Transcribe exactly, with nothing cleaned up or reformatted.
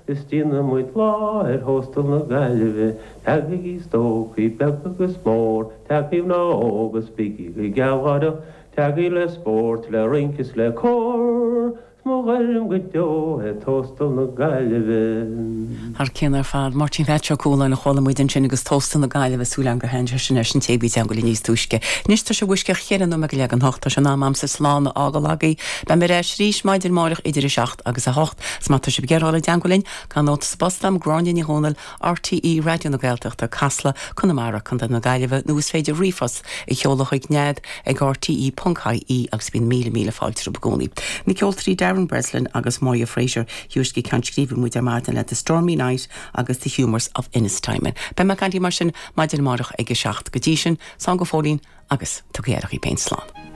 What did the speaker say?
Is déanfaidh muid lá ar Thóstal na Gaillimhe, Tagaigí stócaigh beag agus mór, Tagaigí mná óga 's bígí go gealgháireach, Tagaigí le spórt, le rince is le cór, 's mo ghairm go deo é Tóstal na Gaillimhe. Thar cionn ar fad, Máirtín Pheait Ó Cualáin a chuala muid ansin agus Tóstal na Gaillimhe súil agam gur thaitin sé sin leis an té a bhí i dteagmháil níos túisce. Anois tá sé uisce cheithre nóiméad go leath don hocht tá sé in am a'msa slán a fhágáil agaibh. Beidh mé ar ais arís maidin amárach idir a seacht agus a hocht, 's má tá sibh ag iarraidh dul i dteagmháil linn, cuir nóta sa bpost agam Gráinne Ní Dhomhnaill RTÉ Raidió na Gaeltachta Casla Conamara Contae na Gaillimhe nó is féidir ríomhphost a sheoladh chuig nead ag RTE ponc IE agus bíonn míle míle fáilte romhaibh i gcónaí. Na ceoltóirí Darren Breslin agus Moya Fraser thiúisce ceann scríbe muid ar maidin le The Stormy Night agus The Humours of Ennistymon. Beidh mé caintí mar sin maidin amárach ag a seacht go dtí sin, slán go fóillín agus tugaigí aire daoibh féin slán.